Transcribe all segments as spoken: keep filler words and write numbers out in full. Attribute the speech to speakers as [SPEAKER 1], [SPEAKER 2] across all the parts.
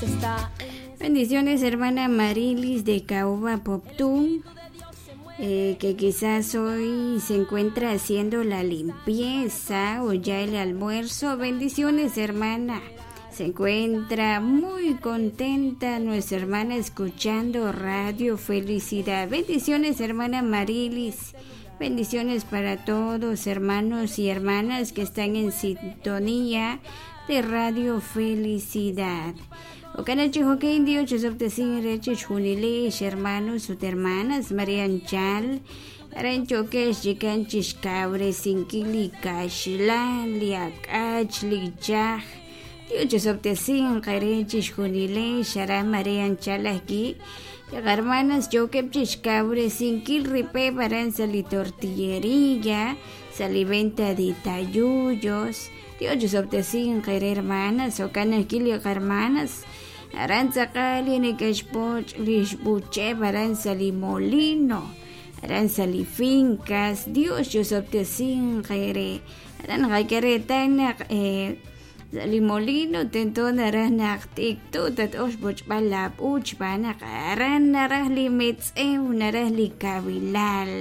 [SPEAKER 1] Está
[SPEAKER 2] Bendiciones, hermana Marilis de Caoba Poptún, eh, que quizás hoy se encuentra haciendo la limpieza o ya el almuerzo. Bendiciones, hermana. Se encuentra muy contenta nuestra hermana escuchando Radio Felicidad. Bendiciones, hermana Marilis. Bendiciones para todos, hermanos y hermanas que están en sintonía de Radio Felicidad. Okanachi hokein Dios chosoptesin rechi chjunilex hermanos ut hermanas María Anchal aran chokex chikanchix kawresinkil li kaxlan li ak'ach li chaj Dios chosoptesin qere chixjunilex aran María Anchal ajki hermanas chokep chixkawresinkil ripeb aran sa li tortillería sa li venta de tayuyos Dios chosoptesin qere hermanas okanajki li hermanas aran tzaqal nekexpoch lixbucheb aran sa li molino aran sa li fincas Dios chosoptesin qere aran qakeretan naq eh, sa li molino tento naraj naq t'iktu tat'ox pochb'al la p'uch b'anaq aran naraj li metz'ew naraj li kabilal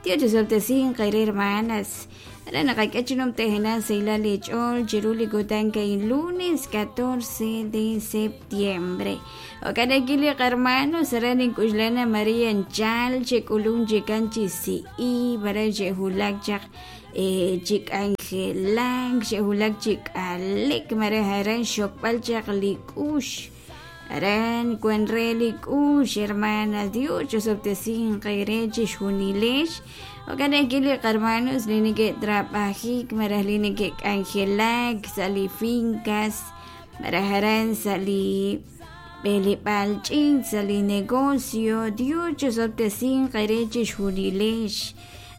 [SPEAKER 2] Dios chosoptesin qere hermanas aran naqak'achinom tejena seila lech'ol chiru li kutan kay lunes catorce de septiembre okanaki li hermanos aran ink'uxlana María Anchal chek'ulun chikan chisi'i bara xe'julak chaq eh, chik'anjelank xe'julak chik'alek mara aran xokb'al chaq li k'ux aran kwan re li k'ux hermanas Dios chosoptesin qere chixjunilex okanaki li hermanos li neke'trab'ajik maraj li neke'k'anjelak sa li fincas maraj aran sa li b'eleb'al ch'iich sa li negocio Dios chosoptesin qere chixjunilex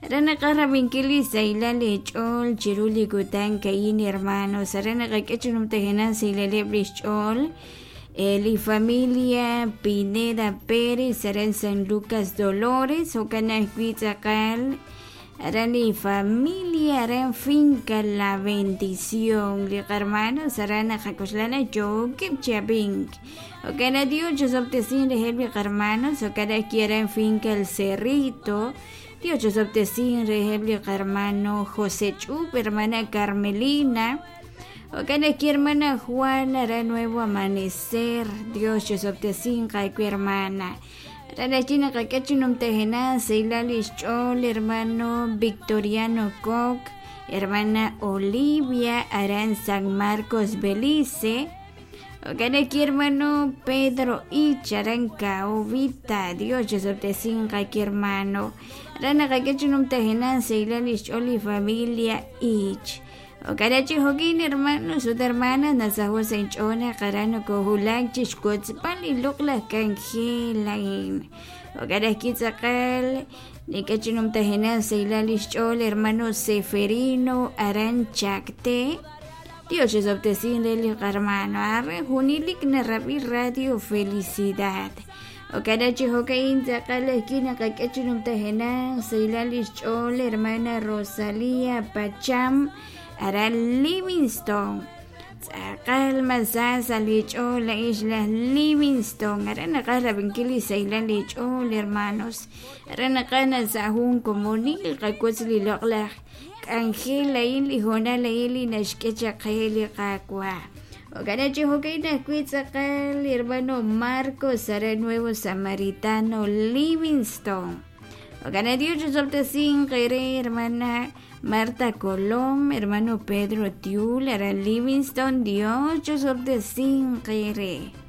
[SPEAKER 2] aran naqaj rab'inkil li saylal lech'ol chiru li kutan ka'in hermanos aran naqak'e chunumtejena saylaleb' lixch'ool eh, li familia Pineda Pérez aran San Lucas Dolores okanajwi tz'aqal aran li familia aran finca La Bendición li hermanos aran naqak'uxlana chokeb chabink okana Dios chosoptesin rejeb li hermanos okanajki aran finca El Cerrito Dios chosoptesin rejeb li hermano José Chup hermana Carmelina okanajki hermana Juana aran Nuevo Amanecer Dios chosoptesin qayku hermana aran ajki naqak'e chunumtejena seylal lixch'ool hermano Victoriano Koch hermana Olivia aran San Marcos Belice okanajki hermano Pedro Ich aran Caobita Dios chosoptesin qayki hermano aran naqak'e chunumtejena seylal lixch'ool li familia Ich okarachi jokin hermanos ut hermanas nasajo sench'ona qarano kojulak chixkotzpal li loq'laj kanjel okarajki tz'aqal nik'e chunumtejena seylal lixch'ool hermano Seferino aran Chacté Dios chosoptesin re li hermano arre junilik narab'i Radio Felicidad okarachi jokain tz'aqal ajki naqak'e chunumtejena seylal lixch'ool hermana Rosalía Pacham aran Livingston tz'aqal masasa lich'ool la isla Livingston aran naqaj rab'inkil li saylal lich'ool hermanos aran naqaj nasajun komonil qakutz li loq'laj k'anjel ayin li jonal ayin li naxk'e chaqe li qakwa okanachi jokain ajwi' tz'aqal hermano Marcos aran Nuevo Samaritano Livingston okana Dios chosoptesin qere hermana Marta Colom, hermano Pedro Tiul, aran Livingston, Dios chosoptesin qere.